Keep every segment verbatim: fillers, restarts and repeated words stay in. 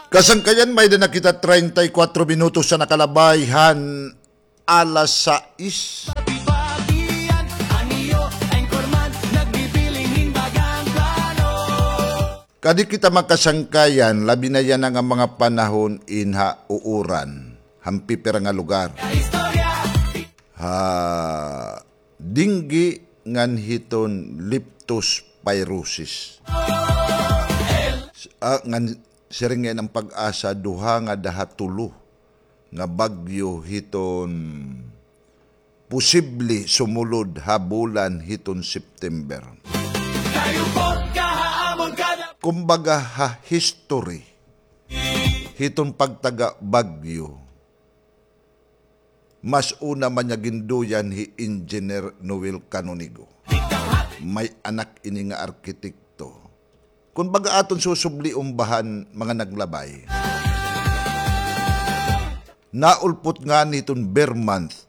Kasangkayan, may-ada na kita treinta y cuatro minutos na nakalabay han alas sais. Kadi kita makasangkayan, labi na yana nga mga panahon in ha uuran, han pipira nga lugar. Ha dengue ngan hiton leptospirosis. Ah, ngan siring ngay-an an PAGASA, duha ngada ha tulo nga bagyo hiton posible sumulod ha bulan hiton September. Kumbaga, ha history hiton pagtaga bagyo, mas una man niya ginduyan hi Engineer Noel Canonigo. May anak ini nga arkitekto. Kumbaga, aton susublion ba han mga naglabay. Naulpot ngani hiton ber month,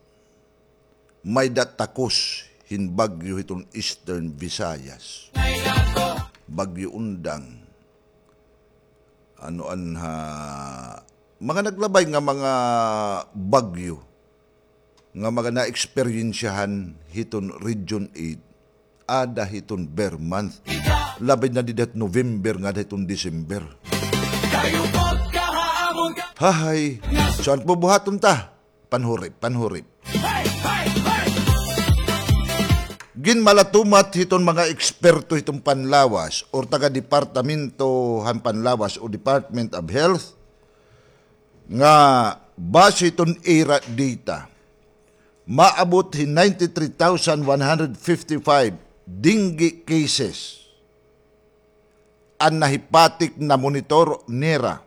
may-ada takos hin bagyo hiton Eastern Visayas. Bagyo Undang. Ano an ha, mga naglabay nga mga bagyo nga mga naeksperyensyahan hiton Region eight, ada hiton ber month. Labi na dida hit November ngada hiton December. Hahay. So, an bubuhaton ta, panhurip, panhurip. Ginmalatumat hiton mga eksperto hiton panlawas or taga-departamento han panlawas o Department of Health nga base hiton ira data, maabot hin ninety-three thousand one hundred fifty-five dengue cases an nahipatik, namonitor nira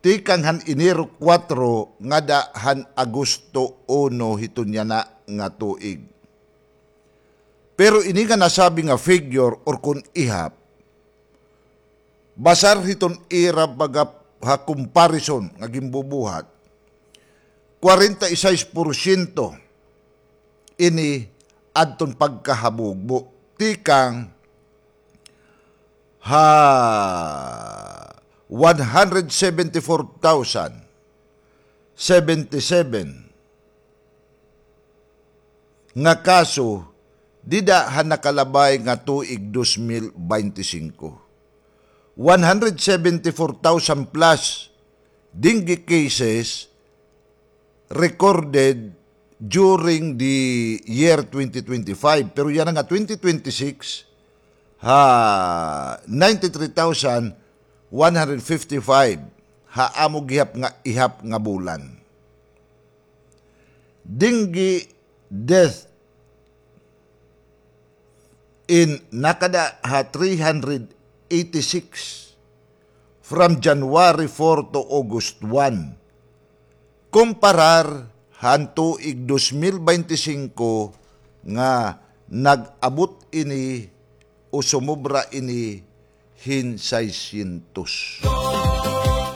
tikang han Enero kuwatro ngada han Agosto uno hiton yana nga tuig. Pero ini nga nasabi nga figure or kon ihap, basar hiton ira baga ha comparison nga ginbubuhat, kwarenta y sais porsyento ini adton pagkahabugbo tikang ha one hundred seventy-four thousand seventy-seven nga kaso dida ha nakalabay nga tuig dos mil baynte singko. One hundred seventy-four thousand plus dengue cases recorded during the year twenty twenty-five. Pero yana nga twenty twenty-six, ha, ninety-three thousand one hundred fifty-five ha amo gihap nga ihap nga bulan. Dengue death in nakada ha three hundred eighty-six from January four to August one. Komparar han tuig dos mil baynte singko nga nag-abot ini o sumobra ini hin sayscientos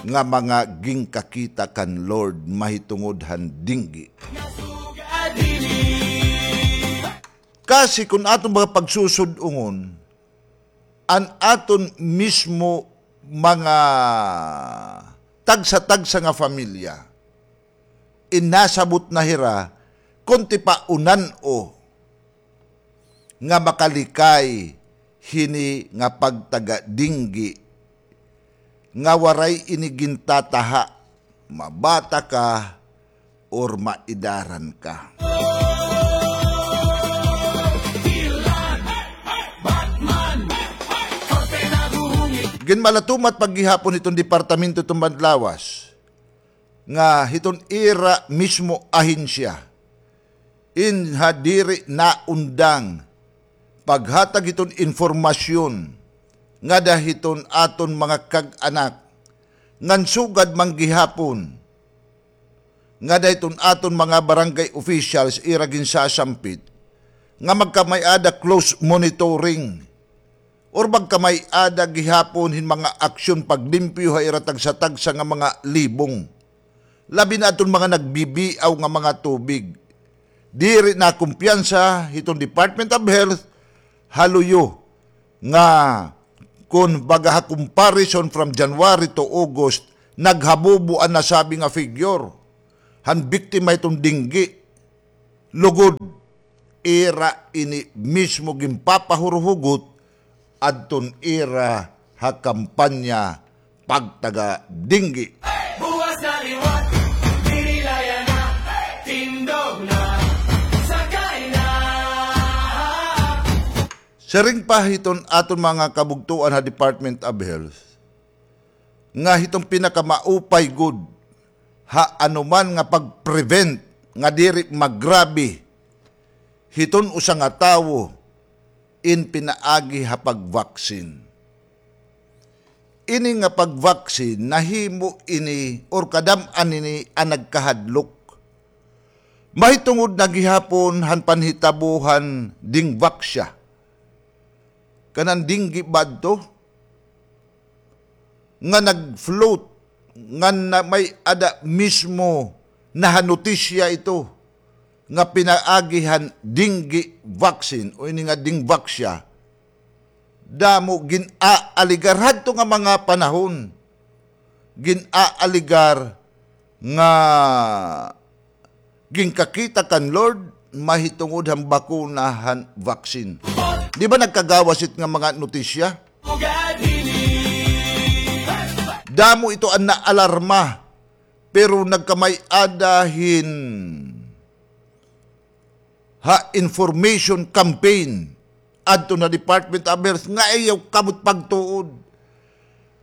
nga mga ginkakita kan Lord mahitungod han dengue. Kasi kon aton mga pagsusud-ongon, an aton mismo mga tagsa-tagsa nga pamilya, in nasabot na hira, kon tipaunan-o nga makalikay hini nga pagtaga dengue nga waray ini gintataha, mabata ka or maedaran ka. Ginmalatumat pa gihapon hiton departamento hiton panlawas nga hiton ira mismo ahensya, in ha diri naundang paghatag hiton impormasyon ngada hiton aton mga kag-anak, ngan sugad man gihapon ngada hiton aton mga barangay officials, ira ginsasampit nga magkamay-ada close monitoring or magkamay-ada gihapon hin mga aksyon paglimpyo ha ira tagsa-tagsa nga mga libong, labi na adton mga nagbibiaw nga mga tubig. Diri nakumpiyansa hiton Department of Health ha luyo nga Kon baga ha comparison from January to August, naghabubo an nasabi nga figure han biktima hiton dengue. Lugod, ira ini mismo ginpapahuruhugot adton ira ha kampanya pagtaga dengue. Buwas na liwat, diri layanan, tindog na, sakay na. Siring pa hiton aton mga kabugtoan ha Department of Health, nga hiton pinakamaupay gud ha anuman nga pag-prevent nga diri magrabe hiton usa nga tawo in pinaagi ha pag-vaccine. Ini nga pag-vaccine, nahimo ini or kadam-an ini an nagkahadlok. Mahitungod na gihapon han panhitabo han dingvaxia. Kanan dengue ba adto? Nga nag-float, nga na, may-ada mismo na ha notisya ito, nga pinaagi han dengue vaccine o ini nga dingvaxia. Damo gin-aaligar hadto nga mga panahon. Gin-aaligar nga ginkakita kan Lord mahitungod han bakuna han vaccine. Di ba nagkagawas it nga mga notisya? Damo ito an naalarma, pero nagkamay-ada hin ha information campaign adto na Department of Health nga ayaw kamot pagtuod.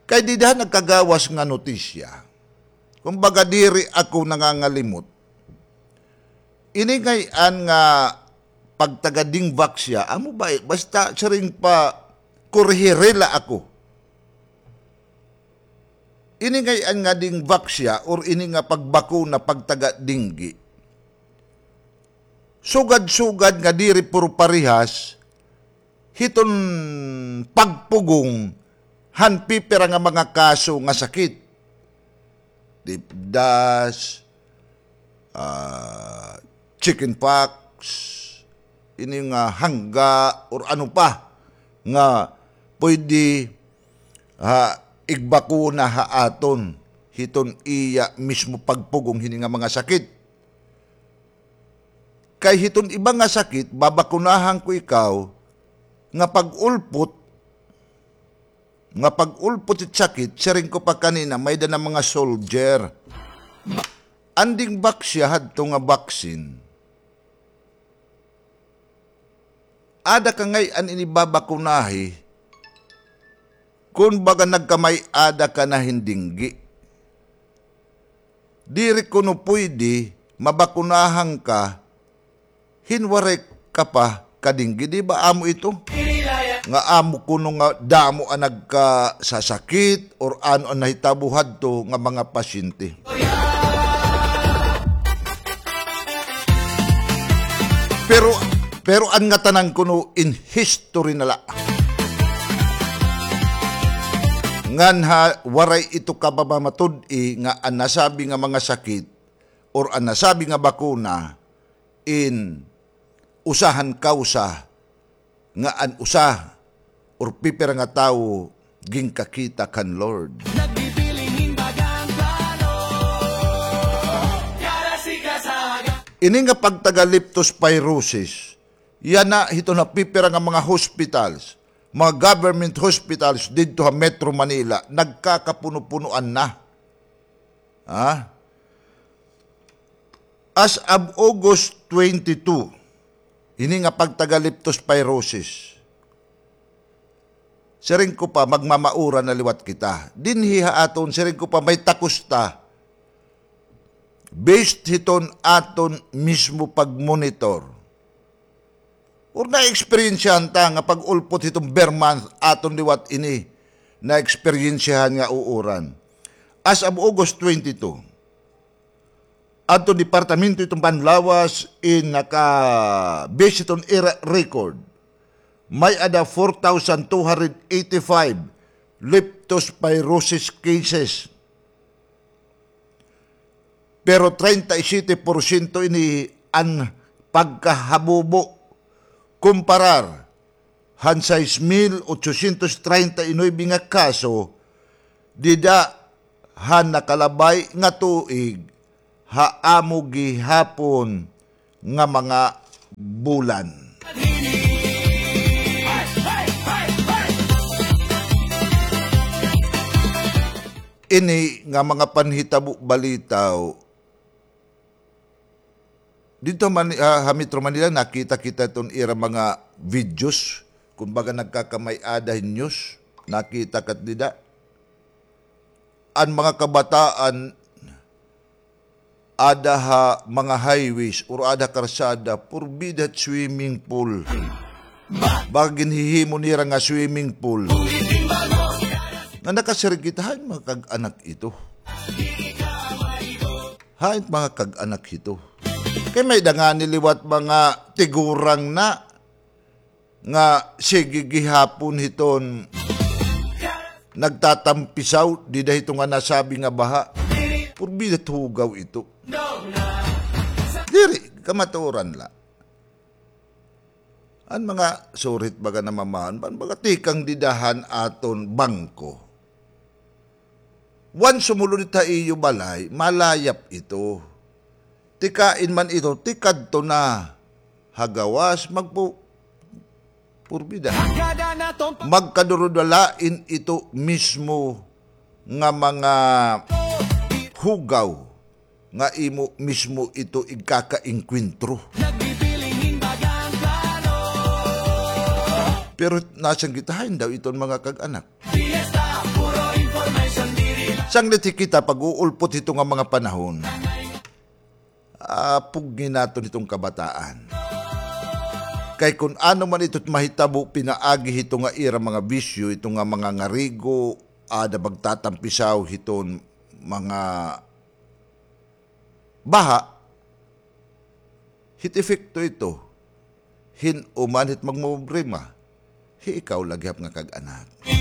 Kay dida nagkagawas nga notisya. Kumbaga, diri ako nangangalimot. Ini ngay-an nga pagtaga dingvaxia, amo ba, eh, basta siring pa, kurihirela ako. Ini ngay-an nga dingvaxia or ini nga pagbakuna pagtaga dengue. Sugad-sugad nga diri puro parehas hiton pagpugong han pipira nga mga kaso nga sakit. Dipdas, ah, chicken pox, ini nga hangga, or ano pa nga pwede, ha, igbakuna ha aton hiton iya mismo pagpugong hini nga mga sakit. Kay hiton iba nga sakit, babakunahan ko ikaw nga pag-ulpot, nga pag-ulpot it sakit, siring ko pa kanina, may-ada na mga soldier. An dingvaxia hadto nga vaccine, ada ka ngay-an ini babakunahi, kun baga nagkamay-ada ka na hin dengue. Diri kuno pwede mabakunahan ka hin waray ka pa ka-dengue, di ba amo ito? Nga amo kuno nga damo an nagkasasakit or ano an nahitabo hadto nga mga pasyente. Pero, pero an ngatanan kuno in history na la. Ngan ha, waray ito kababamatud-i nga an nasabi nga mga sakit or an nasabi nga bakuna in usa han kawsa nga an usa or pipira nga tawo ginkakita kan Lord. Ini nga pagtaga leptospirosis, yana hiton ha pipira nga mga hospitals, mga government hospitals didto ha Metro Manila, nagkakapuno-punoan na. Ha? As of August twenty-two, ini nga pagtaga leptospirosis. Siring ko pa, magmamaura na liwat kita. Dinhi ha aton, siring ko pa, may takos ta. Based hiton aton mismo pag-monitor. Or naeksperyensyahan ta nga pag-ulpot hiton ber month aton liwat ini, naeksperyensyahan nga uuran. As of August twenty-two, adto departamento hiton panlawas in naka-base hiton ira record, may-ada four thousand two hundred eighty-five leptospirosis cases. Pero treinta y siete porsyento ini an pagkahabubo kumparar han sais mil otsosyentos treinta y nuebe nga kaso dida han nakalabay nga tuig ha amo gihapon nga mga bulan. Ini nga mga panhitabo balitaw, didto man, ah, ha Metro Manila, nakita kita iton ira mga videos, kumbaga nagkakamay-ada hin news, nakita kat dida. An mga kabataan, ada ha mga highways or ada karsada, purbida swimming pool. Baga ginhihimo nira nga swimming pool. Nga nakasiring kita, hain mga kag-anak ito? Hain mga kag-anak ito? Kay may-ada ngani liwat mga tigurang na nga sige gihapon hiton nagtatampisaw dida hito nga nasabi nga baha. Purbida hugaw ito. Diri, kamatuoran la. An mga surit baga namamahon, ban baga tikang dida han aton bangko. Wan sumulod it ha iyo balay, malayap ito. Tikain man ito, tikadto na ha gawas, magpu-, purbida. Magkadurudalain ito mismo nga mga hugaw nga imo mismo ito igkakaengkwentro. Pero nasanggitan daw iton mga kag-anak. Sanglit kita pag-uulpot hito nga mga panahon, ah, pugni naton hiton kabataan. Kay kun ano man ito mahitabo pinaagi hito nga ira mga bisyo, ito nga mga ngarigo, ada magtatampisaw hiton mga baha, hit epekto ito hin uman hit magmoproblema, hi ikaw la gihap nga kag-anak.